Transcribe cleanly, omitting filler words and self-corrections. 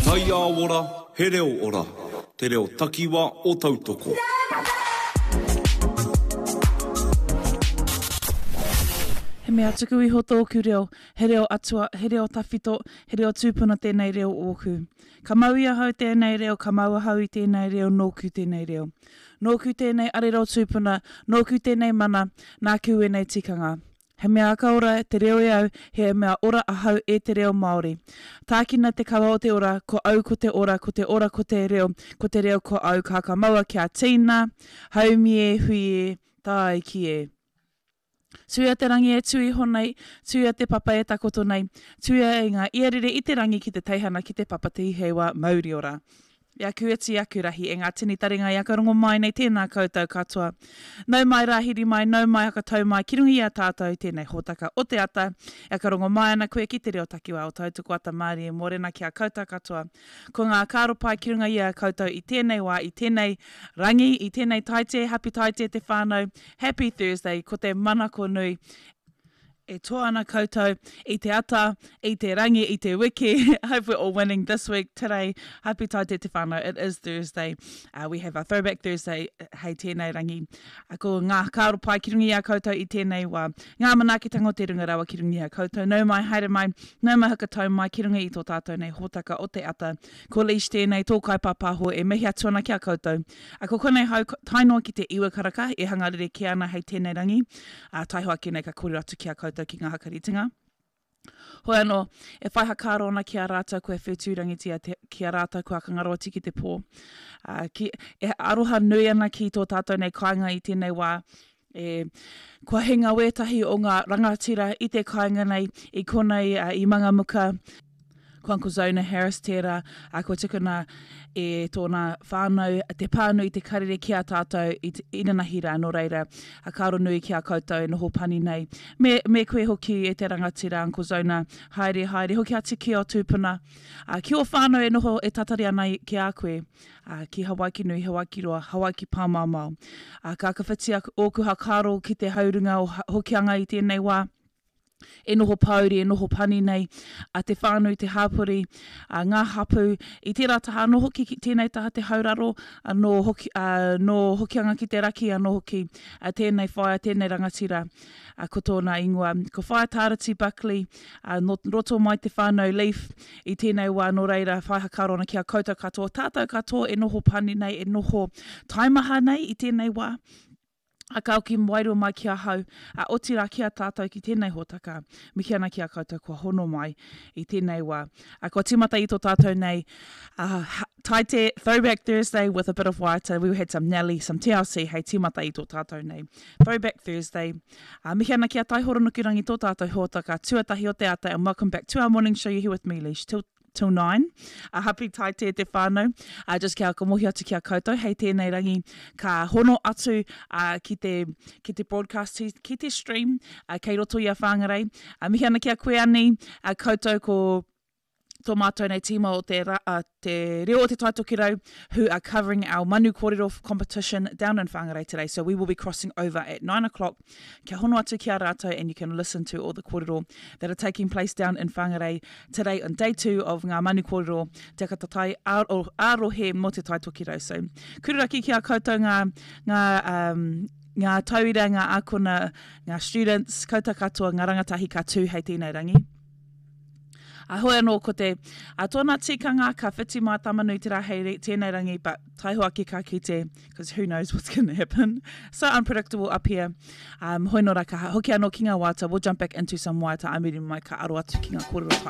Taiao ora, he reo ora. Te reo takiwa o Tautoko. He mea tuku iho tōku reo, he reo atua, he reo tawhito, he reo tūpuna tēnei reo ōku. Ka mau i ahau tēnei reo, ka mau ahau i tēnei reo, nōku tēnei reo. Nōku tēnei arero tūpuna, nōku tēnei mana, nāku ēnei tikanga. He mea aka ora te reo e au, he mea ora ahau e te reo Māori. Tākina te kawa o te ora, ko au ko te ora, ko te ora ko te reo, ko te reo ko au, ka ka maua kia tīna, haumi e, hui e, tāiki e. Tuia te rangi e tū iho nei, tuia te papa e takoto nei, tuia e ngā iarere i te rangi ki te teihana ki te papa Tiheiwa mauriora. I aku iti, i aku rahi, e ngā tini taringa i aka rongo mai nei, tēnā koutou katoa. Nau mai rāhiri mai, nau mai hakatau mai ki runga i a tātou tēnei hōtaka o te ata. E aka rongo mai ana koe ki te reo takiwā o Tautoko Ata Mārie Mōrena ki a koutou katoa. Ko ngā kāro pai ki runga i a koutou i tēnei wā, i tēnei rangi, i tēnei Taite, Happy Taite te whānau, Happy Thursday, ko te manako nui E toa ana koutou i te ata, i te rangi, i te wiki. Hope we're all winning this week, today. Happy Taite te whānau, it is Thursday. Uh, we have our Throwback Thursday hei tēnei rangi. Uh, ko ngā whakaaro pai ki runga i a koutou i tēnei wā. Ngā manaakitanga o te runga rawa ki runga i a koutou. Nau mai, haere mai, nau mai hakatau mai ki runga i tō tātou nei hōtaka o te ata. Ko Leish tēnei, tō kaipāpāho e mihi atu ana ki a koutou. A ko konei hau tae noa ki te iwa karaka e hanga rerekē ana hei tēnei rangi, ā, taihoa ake nei ka kōrero atu ki a koutou ki ngā hakaritenga. Hoi anō, e whai hakaaro ana ki a rātou kua whetūrangitia te, ki a rātou kua whakangaro atu ki te pō. Ā, ki, e aroha nui ana ki tō tātou nei kāinga i tēnei wā, E, kua hinga wētahi o ngā rangatira i te kāinga nei, i konei, ā, i Mangamuka, ko Uncle Zona Harris tērā, ā, kua tukuna e tōna whānau te pānui te karere ki a tātou i te inanahi rā, nō reira, a kāro nui ki a koutou e noho pani nei. Me, me koe hoki e te rangatira, Uncle Zona, haere, haere hoki atu ki ō tūpuna, ā, ki ō whānau e noho e tatari ana ki a koe. ā, ki Hawaiki nui, Hawaiki roa, Hawaiki pāmaomao. Ā, ka whakawhiti ōku hakaaro ki te haurunga o Hokianga i tēnei wā, e noho pāuri, e noho pani nei, a te whānau, te hāpori, a ngā hapū, i tērā taha anō hoki ki tēnei taha te hauraro, nō hoki, ā, nō Hokianga ki te raki anō hoki, ā, tēnei whaea, tēnei rangatira, ā, ko tōna ingoa, ko Whaea Tārati Buckley, ā, nō roto mai te whānau Leaf, I tēnei wā, nō reira, whai hakaaro ana ki a koutou katoa, tātou katoa e noho pani nei, e noho taimaha nei i tēnei wā, a ka oki wairua mai ki ahau, a otirā ki a tātou ki tēnei hōtaka, mihi ana ki a koutou kua hono mai i tēnei wā. A kua tīmata i tō tātou nei uh, Taite Throwback Thursday with a bit of waiata, we had some Nelly, some TLC hei tīmata i tō tātou nei Throwback Thursday. Ā, mihi ana ki a Taihoro Nukurangi tō tātou hōtaka tuatahi o te ata and welcome back to our morning show you're here with me Leish till till 9. A happy Taite te whānau. A just kia whakamohi atu ki a koutou hei tēnei rangi ka hono atu a, ki te ki te broadcast ki te stream a, kei roto i a Whangarei. A mihi ana ki a koe Ani, a koutou ko tō mātou nei tīma o te, uh, te reo o te Taitokerau who are covering our Manu Kōrero competition down in Whangarei today. So we will be crossing over at 9 o'clock. Kia hono atu ki a rātou and you can listen to all the kōrero that are taking place down in Whangarei today on day 2 of ngā Manu Kōrero Te Akatatai ā-rohe mō te Taitokerau. So, kururaki ki a koutou ngā, ngā, um, ngā tauira, ngā ākona, ngā students, koutou katoa, ngā rangatahi ka tū hei tēnei rangi. A hoi anō ko te, a tōna tikanga ka whiti mā Tamanui te rā hei tēnei rangi, but taihoa ake ka kite, because who knows what's going to happen. So unpredictable up here. Um, hoi nō rā ka hoki anō ki ngā waiata, we'll jump back into some waiata a muri mai ka aro atu ki ngā kōrero tai.